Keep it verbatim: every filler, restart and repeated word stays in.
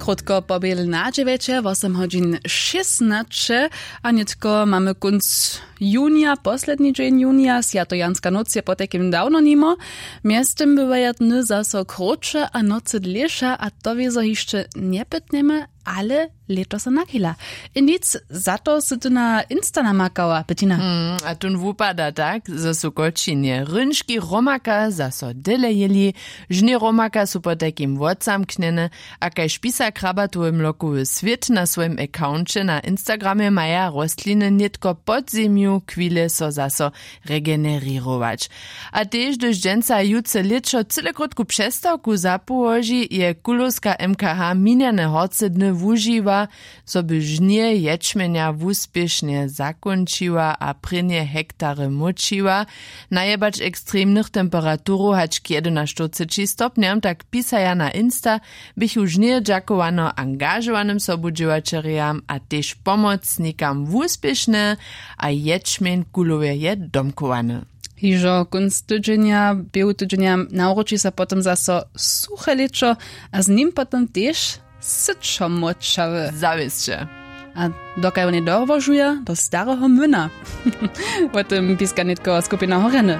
Krótko po běle na dźewjeće wosym hodźin šěsnaće. A nětko mamy kónc junija, posledni dźeń junija, swjatojanska nóc je potajkim dawno nimo. Mjeztym bywaja dny zaso krótše a nocy dlěše, a to wězo hišće njepytnjemy, ale lěto so nachila. I nic, za to sy ty na insta namakała, Bettina. Mm, a tón wupada tak, zo su w kóčinje rynški romaka zaso dyle jěli. Žnje romaka su potajkim wotzamknjene, a kaž pisa krabatowy mlokowy swět na swojim accounće na instagramje, maja rostliny nětko pod zemju chwile so zaso regenerěrować. A tež hdyž dźensa jutře lěćo cyle krótku přestawku zapołoži, je kulowska mkh minjane horce dny wužiwa, zo by žnje ječmjenja wuspěšnje zakónčiła a prěnje hektary móčiła. Najebać ekstremnych temperaturow hač k jedynaštyrceći stopnjam, tak pisaja na insta, běchu žnje dźakowano angažowanym sobudźěłaćerjam a tež pomocnikam wuspěšne, a ječmjeń kulowje je domkowany. Hižo kónc tydźenja, běhu tydźenja, nawróči so potom zaso suche lěćo, a z nim potom tež syčo močawy. Zawěsće. A dokaj wone dołožuja do stareho młyna. Wo tym piska nětko skupina horjany.